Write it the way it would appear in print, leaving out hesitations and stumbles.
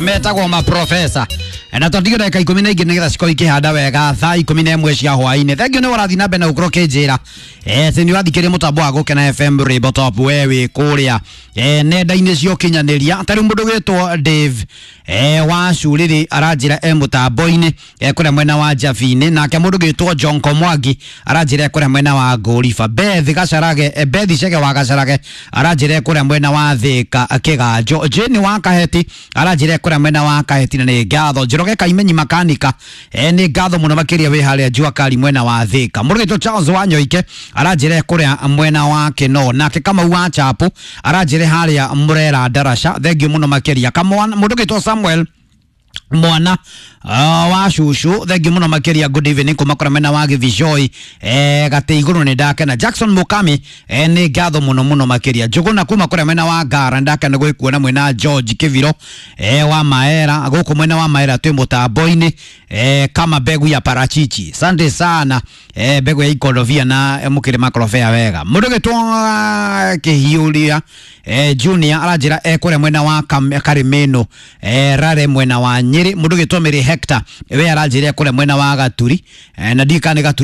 Metagwo maprofesa na twatigio ndagĩka 12 nĩgetha cikorwo ikĩhanda wega thaa 11 cia hwaĩ-inĩ. Thengiũ nĩ ũrathiĩ na mbere na gũkorwo ũkĩnjĩra atĩ nĩ ũrathikĩrĩria mũtambo wa Gũkena FM Rainbow Top, we wĩ kũrĩa nenda-inĩ cia ũkinyanĩria. Ta rĩu mũndũ gwĩtwo Dave wa Curĩrĩ aranjĩra e mũtambo-inĩ kũrĩa mwena wa Njabi-inĩ, nake mũndũ gwĩtwo Jonko Mwangi aranjĩra e kũrĩa mwena wa Ngũriba. Beth Gacarage, Beth Chege wa Gacarage aranjĩra e kũrĩa mwena wa Thĩka Kĩganjo. Jane wa Kaheti aranjĩra e kũrĩa mwena wa Kaheti, na nĩ ngatho. Njoroge Kaimenyi makanika, nĩ ngatho mũno makĩria wĩ harĩa Jua Kali mwena wa Thĩka. Mũndũ gwĩtwo Charles wa Nyoike aranjĩra e kũrĩa mwena wa Kĩno, nake Kamau wa Chapu aranjĩra harĩa Mũrera Ndaraca. Thengiũ mũno makĩria. Kamwana, mũndũ gwĩtwo Samuel mwana wa cucu, thengiũ mũno makĩria. Good evening kuma kũrĩa mwena wa Gĩthicoi, gatĩ igũrũ nĩ ndakena. Jackson Mukami, nĩ ngatho mũno mũno makĩria. Njũgũna kuma kũrĩa mwena wa Ngara, nĩ ndakena gwĩkuona mwena George Kĩbiro wa Maera, gũkũ mwena wa Maera twĩ mũtambo-inĩ, kama mbegu ya parachichi. Asante sana, mbegu ya ikorobia na mũkĩrĩ makorobia wega. Mũndũ gĩtwo Kĩhiũria Junior aranjĩra kũrĩa mwena wa Karimeno, Rare mwena wa Nyĩrĩ. Mũndũ gĩtwo Mary Hector we aranjĩra kũrĩa mwena wa Gaturi, na ndiũĩ kana nĩ Gaturi.